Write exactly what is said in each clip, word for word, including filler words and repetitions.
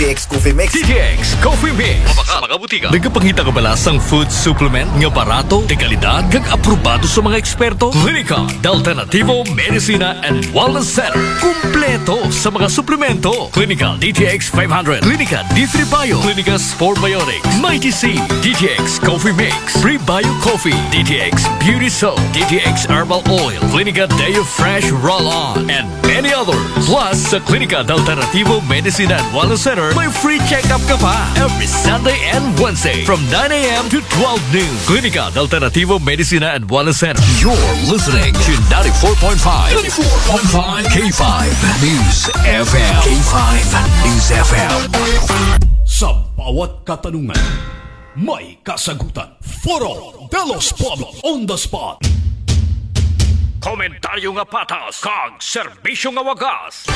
T X Coffee Mix. D T X Coffee Mix. Sa mga butika. Nagapangita ka ba sa food supplement nga barato, de kalidad, kag aprobado sa mga eksperto? Klinika de Alternativo Medicina and Wellness Center. Kumpleto sa mga suplemento. Klinika D T X five hundred, Klinika D three Bio, Klinika Spore Biotics, Mighty C, D T X Coffee Mix, Prebio Coffee, D T X Beauty Soap, D T X Herbal Oil, Klinika Deo Fresh Roll-On, and many others. Plus, sa Klinika de Alternativo Medicina and Wellness Center, may free check-up ka pa every Sunday and Wednesday from nine a.m. to twelve noon. Klinika de Alternativo Medicina and Wellness Center. You're listening to ninety-four point five, ninety-four point five K five News F M. K five News F M. Sa bawat katanungan, may kasagutan. Foro de los Pueblos on the spot. Komentaryo nga patas kag serbisyo nga wagas.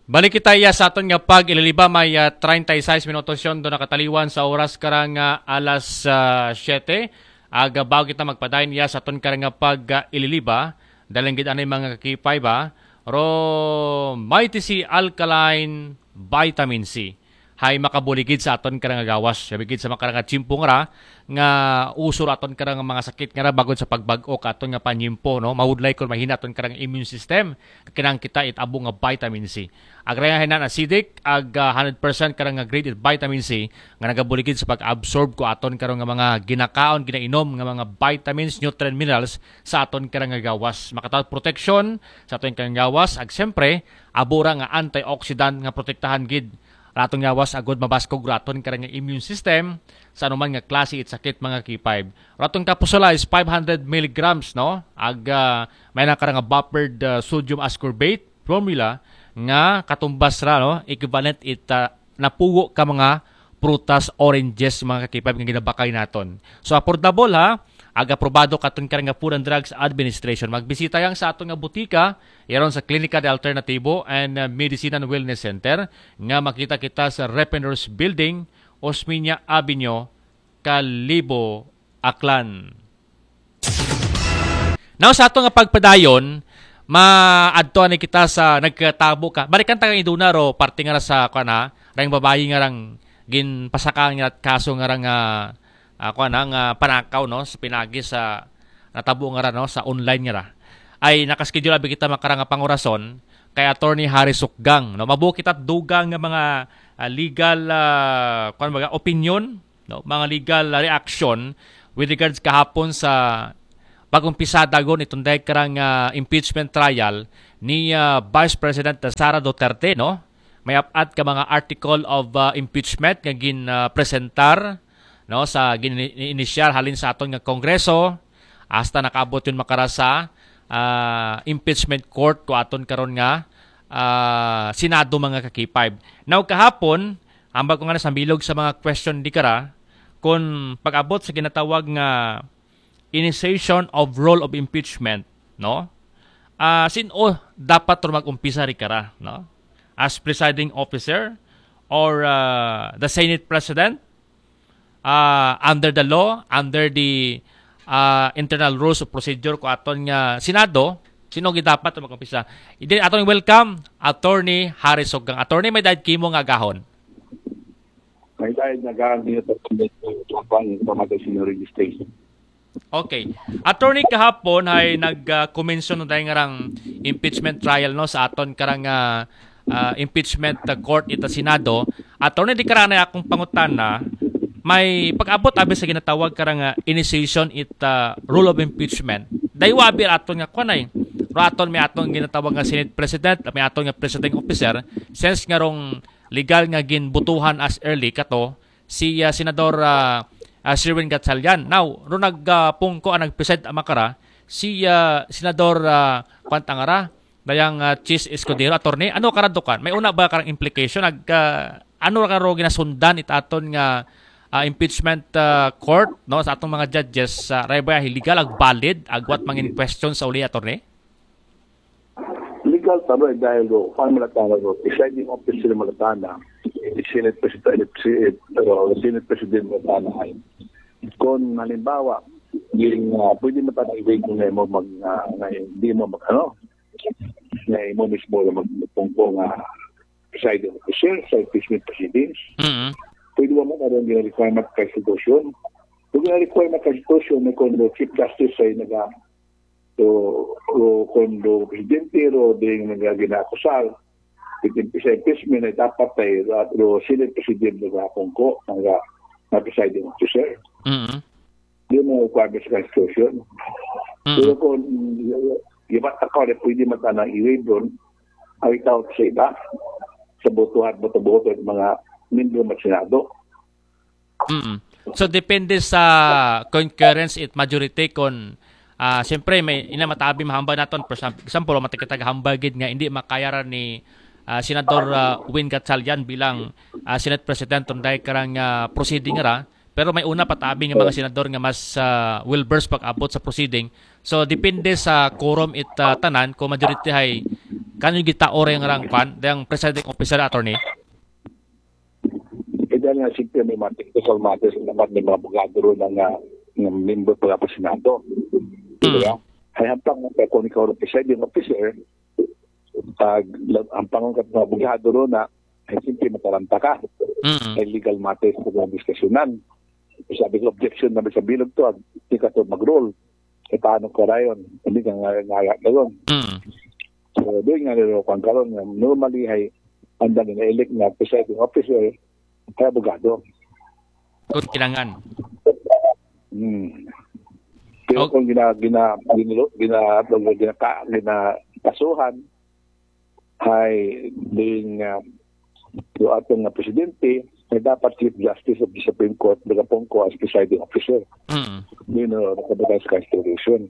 Balik kita iya sa aton nga pag-ililiba, may ah, treinta y seis minutos yon do nakataliwan sa oras karang ah, alas ah, siyete. Aga bago kita magpadayon iya sa aton karang nga pag-ililiba, daling gid anay mga kakipay ba? Ro, Mighty C Alkaline Vitamin C. Hay makabuligid sa aton karang nga gawas. Sabi gid sa makarang nga tiyempo nga ra, nga uso ra aton karang mga sakit nga ra bagod sa pagbag-o ka aton nga panyempo, no? Mahudlay kon mahina aton karang immune system. Kinang kita it abo nga vitamin C. Agrayan hinan acidic, ag ah, hundred percent karang nga grade it vitamin C nga nagabuligid sa pag-absorb ko aton karang nga mga ginakaon, ginainom nga mga vitamins, nutrient minerals sa aton karang nga gawas. Makatawat proteksyon sa aton karang gawas, ag siyempre, abo ra nga antioxidant nga protektahan gid raton gawas agod mabaskog raton karang immune system sa anuman nga klase it sakit mga K five. Raton kapusola is five hundred milligrams, no? Ag ah, may na karang buffered ah, sodium ascorbate formula nga katumbas ra, no? Equivalent it ah, napugo ka mga prutas, oranges, mga kakipab nga ginabakay naton. So affordable ha, ag aprobado katon karang nga Food and Drugs Administration. Magbisita yang sa aton nga butika, yaron sa Klinika de Alternativo and uh, Medicine and Wellness Center nga makita kita sa Repeners Building, Osmeña Avenue, Kalibo, Aklan. Now sa ato nga pagpadayon, maadto ani kita sa nagkatabo ka. Balikan ta kang iduna ro parte nga ra sa kuan ha, rang babayi nga rang ginpasakaan nga kaso nga rang ah, ah, kuan ha, nga panakaw, no, sa pinagi sa natabo nga ra, no, sa online nga ra. Ay nakaschedule abi kita makarang nga pangurason kay Attorney Harry Sukgang, no. Mabuo kita dugang nga mga ah, legal ah, kuan baga opinion, no, mga legal ah, reaction with regards kahapon sa pag-umpisa dagon itong dahil karang ah, impeachment trial ni ah, Vice President Sara Duterte, no? May apat ka mga article of ah, impeachment nga gin ah, presentar, no, sa gin inisyar halin sa aton nga Kongreso hasta nakaabot yun makara sa ah, impeachment court ko aton karon nga ah, Senado mga kakipay. Now kahapon, ambag ko nga na sa bilog sa mga question di kara, kung pag-abot sa ginatawag nga initiation of rule of impeachment, no? Ah, sin-o dapat ro mag-umpisa ri kara, no? As presiding officer or ah, the Senate President, ah, under the law, under the ah, internal rules of procedure ko aton nga Senado, sin-o gid dapat ro mag-umpisa? Then aton welcome Attorney Harry Sukgang. Attorney, may dayad kimo nga agahon. May dayad nga agahon niyo sa pamati sa registration. Okay. Attorney, kahapon hay nag-commence no dahil nga rang impeachment trial, no, sa aton karang ah, ah, impeachment ah, court ita Senado. Attorney, di karana akong pangutana, may pag-abot abi sa ginatawag karang ah, initiation it ah, rule of impeachment. Daywa abi aton nga kuan ay, ro aton may aton ginatawag nga Senate President, may aton nga presiding officer, since nga rong legal nga ginbutuhan as early kato si ah, Senador ah, ah, Sherwin Gatchalian. Now, ro nagpungko ang nagpresent ang makara si ah, Senador ah, kuan ta nga ra, dayang ah, Chiz Escudero. Attorney, ano karadukan? May una ba karang implication? Ag, ah, ano ra karo ginasundan it aton nga ah, impeachment ah, court, no, sa atong mga judges sa rebay legal ag valid agwat mangin question sa uli, attorney? Legal ta ro dahil ro, kuan man la tana ro, presiding officer man la tana, Senate President, si, uh, Senate President man la tana ay. Kung halimbawa, yung, uh, pwede man tana i-waive nga imo mag, uh, nga di mo mag, ano, nga imo mismo lang magpungko nga presiding officer sa impeachment proceedings. Mm. Pwede ba man aron gina-requirement ka institution? Kung gina-requirement ka institution, may kon Chief Justice ay naga so, ro kon ro presidente ro ding naga gina-akusar, itin sa impeachment ay dapat ay ro Senate President naga pungko, naga na presiding officer. Mm. Di mo requirement sa constitution. Pero Mm. Kung gibat ka, pwede man tana i-waive ron, ay tao sa iba. Sa botohan, boto-boto at mga membro ng Senado. Mm. So depende sa concurrence it majority kon ah siyempre may ina matabi mahambal naton. For example, matikitag hambal gid nga hindi makaya ra ni ah, Senador ah, Win Gatchalian bilang ah, Senate President tong day karang ah, proceeding ra, pero may una patabi nga mga senador nga mas ah, well versed pag-abot sa proceeding. So depende sa quorum it ah, tanan, kung majority hay kanyo gitao ra yung rang kwan, yung presiding officer, attorney. E dahil nga siyempre may mga technical matters naman, may mga abogado ron nga, nga member pa nga Senado. Mm. Diba? Ay hampang nga kung ikaw ang presiding officer, pag hampang ka mga abogado ron na, ay siyempre mataranta ka. Mm. Ay legal matters ko nga diskasyonan. Sabi ko, objection na sa bilog to, hindi ka to mag-rule. E paano ka rayon? Hindi ka nga ngaya ka ron. Mm. So, doon nga nilo kung karon nga normally ay ang dami na-elect na presiding officer ay abogado. Kung kinangan. Hmm. Pero Okay. Kung gina gina gina gina gina ka- gina kasuhan ay ding uh, yung atong nga presidente ay dapat Chief Justice of the Supreme Court, nagapungko as presiding officer. Mm. Yun o, nakabatay sa Constitution.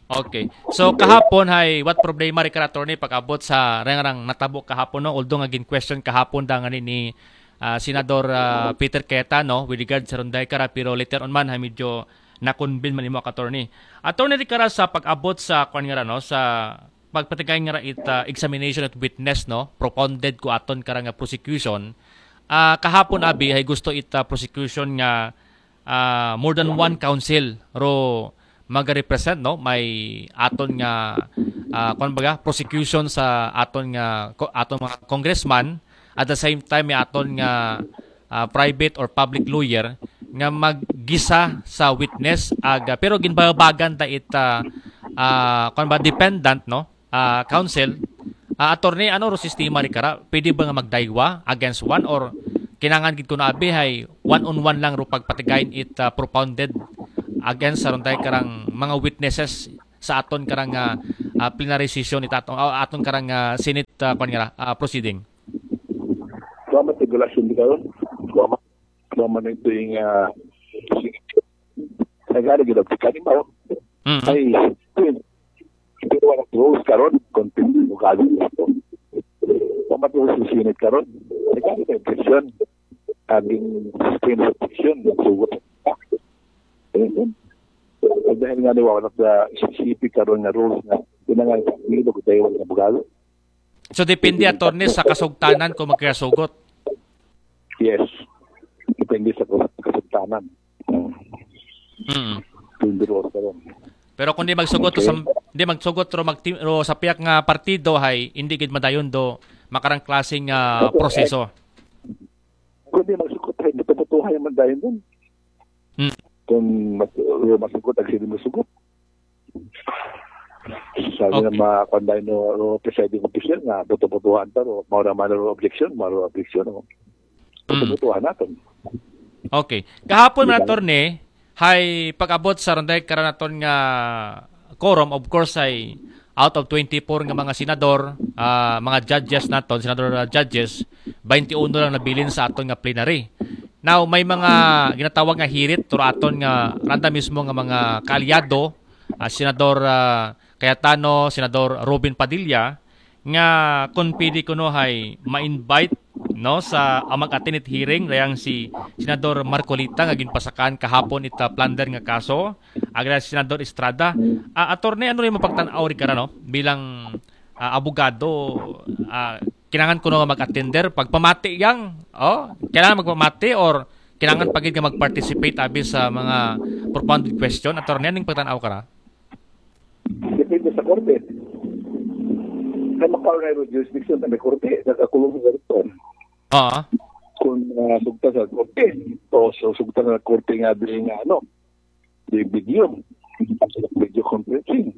Okay. So kahapon hay what problema ri kara, attorney, pag-abot sa rengrang natabo kahapon, no? Although nga gin-question kahapon da nga ni, ni ah, Senador ah, Peter Cayetano with regard sa ron day kara, pero later on man hay medyo na-convene man imo ka, attorney. Attorney, ri kara sa pag-abot sa kwan nga ra, no, sa pagpatigay nga ra it ah, examination at witness, no, propounded ko aton kara nga prosecution. Ah, kahapon abi hay gusto it ah, prosecution nga ah, more than one counsel ro maga-represent, no, may aton nga ah, kwan baga prosecution sa aton nga ko- aton mga congressman, at the same time may aton nga ah, private or public lawyer nga maggisa sa witness aga, pero ginbabagan ta it ah, ah, kwan ba, dependent, no, ah, counsel. Ah, attorney, ano ro sistema ri kara? Pwede ba nga magdaywa against one, or kinangan gid ko na abi hay one on one lang ro pagpatigayon it ah, propounded against sa ron day karang mga witnesses sa aton karang ah, ah, plenary session it aton, ah, aton karang ah, Senate ah, kwan nga ra, ah, proceeding. Kuha man regulasyon di karon. Kuha man. Kuha man ito yung uh, nagari gila ka ni mao. Mm. Ay, yun. Pero wala rules karon, content mo karon ito. Kuha man rules sa Senate karon. Nagari ka objection. Aging sustain sa objection, yung sugot. Ayun, yun. At dahil nga ni wala sa specific karon nga rules na pinangal sa bilog tayo ng abogado. So depende, attorney, sa kasugtanan kung magkasugot. Yes. Depende sa kas- kasugtanan. Mm. Kung duro sa ron. Pero kung di magsugot sa, di magsugot ro, magti, ro sa piyak nga partido hay hindi gid madayon do makarang klaseng ah, proseso. Kung di magsugot ay buto-butuhan yung mandayon dun. Hmm. Kung mas, magsugot, ang sino magsugot. Sabi Okay. Na mga kanday no, no presiding officer nga buto-butuhan ta ro, mao ra man ro objection, mao ra objection, no. Hmm. Buto-butuhan naton. Okay. Kahapon man, attorney, hay pag-abot sa ron day karanaton nga quorum, of course, ay out of twenty-four nga mga senador, ah, mga judges naton, senador ah, judges, twenty-one lang nabilin sa aton nga plenary. Now, may mga ginatawag nga hirit to aton nga randa mismo nga mga kaalyado, ah, Senador ah, Cayetano, Senador Robin Padilla, nga kung pwede kuno hay ma-invite, no, sa ang mag-attend it hearing, rayang si Senador Marcoleta nga ginpasakaan kahapon ita plunder nga kaso, agra si Senador Estrada. Ah, attorney, ano rin mapagtan-aw ri kara, no, bilang ah, abogado, ah, kinangan kuno nga mag-attender pagpamati yang, oh, kinangan magpamati or kinangan pa gid nga mag-participate abi sa mga propounded question, attorney, anong pagtan-aw kara? Depende sa korte. May makaw na yung jurisdiction na may korte, nakakulong sa korte. Oo. Kung uh, sugta sa korte, o so, sugta sa korte nga doon nga ano, yung video, video conferencing.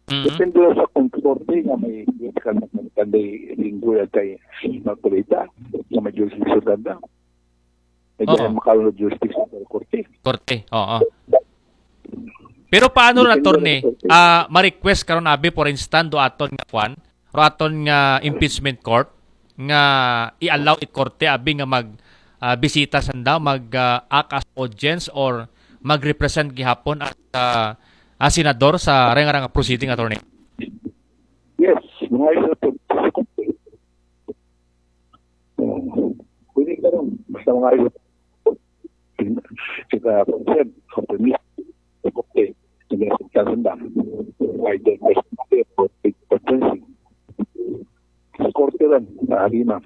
Mhm. Depende sa kung korte nga may kan kanday linggo yan kay Marcoleta, nga may jurisdiction na. May Oo. ganyan makaw na jurisdiction sa korte. Korte, oo. Pero paano ra, Depende attorney? sa korte. Ah, ma-request karon abi, for instance, do aton nga kwan, or aton nga impeachment court nga i-allow it korte abi nga mag ah, bisita sanda, mag ah, act as audience or mag-represent gihapon as ah, as senador sa reng-rang proceeding, attorney? Yes, mga isa po. Pwede ka rin. Basta mga isa. Kita, Sir, sa permit. Okay. Sige, sa sanda. Why the first for fencing? Sa korte rin, sa Halima.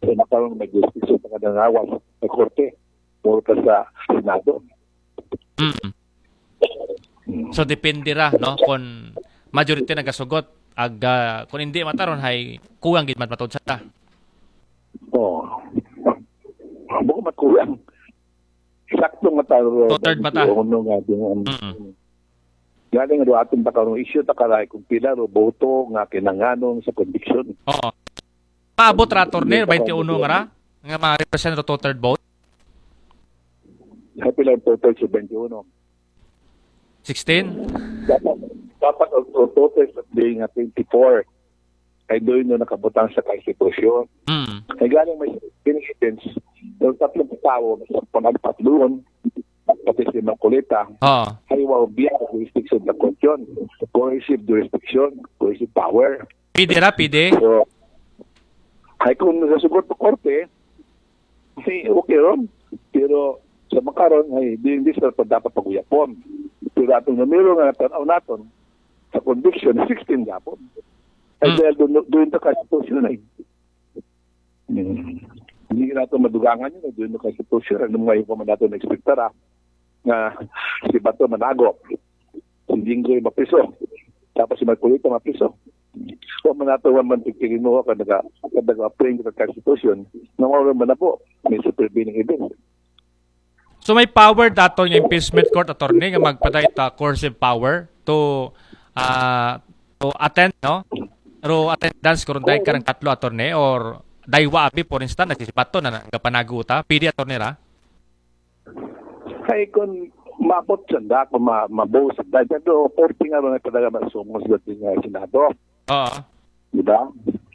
Sa makaroon may justice sa mga nangawas sa korte. Puro ka sa Senado. Mm. So depende ra, no, kung majority nagasugot, ag ah, kung hindi mataron hay kuwang gid man matod sa ta. Oh. Bako matkulang. Sakto nga taro. Two-third mata. Ano nga din. Mm. Galing do ating takarong issue takaray kung pila ro boto nga kinanganon sa conviction. Oo. Maabot ra, attorney, twenty-one nga ra nga ma-represent ro two-third vote. Sa pila ang total sa twenty-one? Sixteen? Dapat, dapat ang total sa day nga twenty-four ay doon no nakabutang sa konstitusyon. Mm. Ay galing may evidence ng tatlong tao sa panagpatluon, pati si Marcoleta, Oo. ay wow biya jurisdiction ng korte. Coercive jurisdiction, coercive power. Pwede ra, pwede. So, ay kung nagasugot sa korte, si okay ron. Pero sa makaron, ay di, hindi sa dapat paguyapon. Pero atong numero nga natanaw naton sa conviction, sixteen gapon. Ay Hmm. dahil doon, doon sa konstitusyon ay. Hmm. Hindi natin madugangan yun, doon sa konstitusyon. Ano mga yung natin na-expectar ah, nga si Bato manago, si Jinggoy mapriso, tapos si Marcoleta mapriso. Kung man nato man pagkirinuha ka naga, ka naga-frame ka konstitusyon, na wala man na po, may supervening event. So may power dato nga impeachment court, attorney, nga magpaday ta coercive power to ah to attend, no? Pero attendance karon dahil karang tatlo, attorney, or daywa abi, for instance, nagsibato na nagapanago ta. Pwede, attorney, ra? Kay kung maabot sa da, kung ma mabuo sa da, pero korte nga ron ay talaga masumos sa din nga Senado. Oo. Di ba?